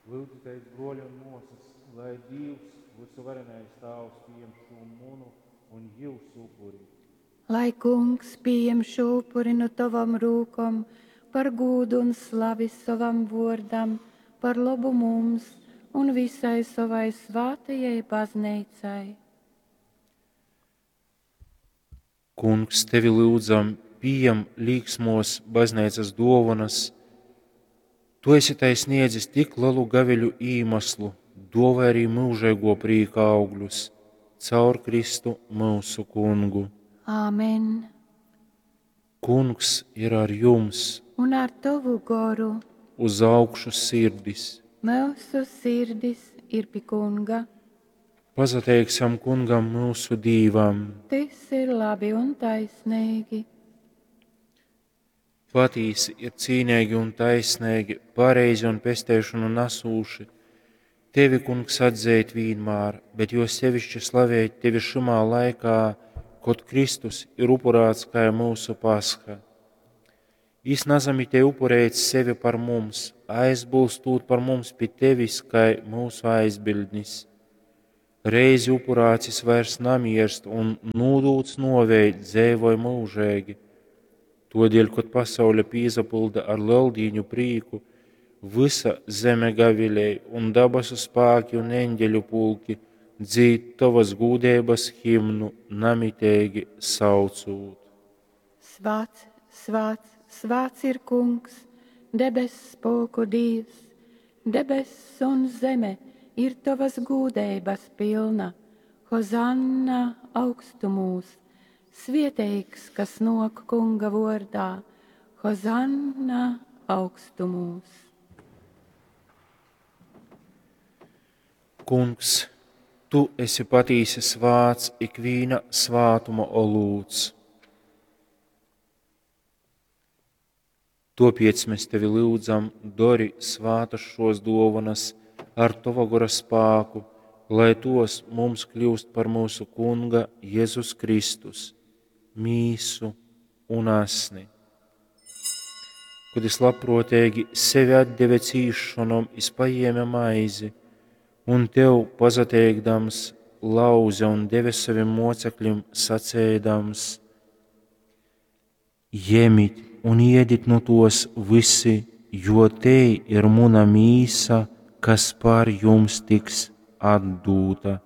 Lyudzitēs, bruoļi un muosys, lai Dīvs, vysuvarenais Tāvs, pījem šū munu un jiusu upuri. Lai Kungs pījem šū upuri nu tovom rūkom par gūdu un slavi sovam vōrdam, par lobu mums un visai sovai svātajai bazneicai. Kungs, tevi lyudzam, pījem līksmos bazneicas duovanas. Tu esi tai sniedzis tik lelu gaviļu īmaslu, duovāj arī myužeiguo prīka augļus caur Kristu myusu Kungu. Āmen. Kungs ir ar jums! Un ar tovu goru. Uz augšu sirdis! Myusu sirdis ir pi Kunga. Pasateiksim Kungam myusu Dīvam! Tys ir labi un taisneigi. Patīsi ir cīneigi un taisneigi, pareizi un pesteišonu nasūši tevi, Kungs, atzeit vīnmār, bet jo sevišķi slavēt tevi šymā laikā, kod Kristus ir upurāts kai myusu Pasha. Jis nasamitej upurēt sevi par mums, aizbulstūt par mums pi tevis kai myusu aizbildnis. Reizi upurāts jis vairs namierst un, nūdūts nuovei, dzeivoj myužeigi. Tuodeļ, kod pasaule pīsapylda ar Leldīņu prīku, vysa zeme gavilej un dabasu spāki un eņģeļu pulki dzīd tovas gūdeibas himnu namiteigi saucūt. Svāts, svāts, svāts ir Kungs, debess spulku Dīvs, debess un zeme ir tovas gūdeibas pilna. Hozanna augstumūs! Svieteigs, kas nōk Kunga vōrdā, Hozanna augstumūs! Kungs, tu esi patīsi svāts, ikvīna svātuma olūts. Tuopiec mēs tevi lyudzam, dori svātas šos duovanas ar tova gora spāku, lai tos mums kļūst par myusu Kunga Jezus Kristus, mīsu un asni. Kod jis labpruoteigi sevi atdeve cīsšonom, jis pajēme maizi un tev pasateikdams lauze un deve sovim mocekļim, saceidams: Jemit un iedit nu tos vysi, jo tei ir muna mīsa, kas par jums tiks atdūta.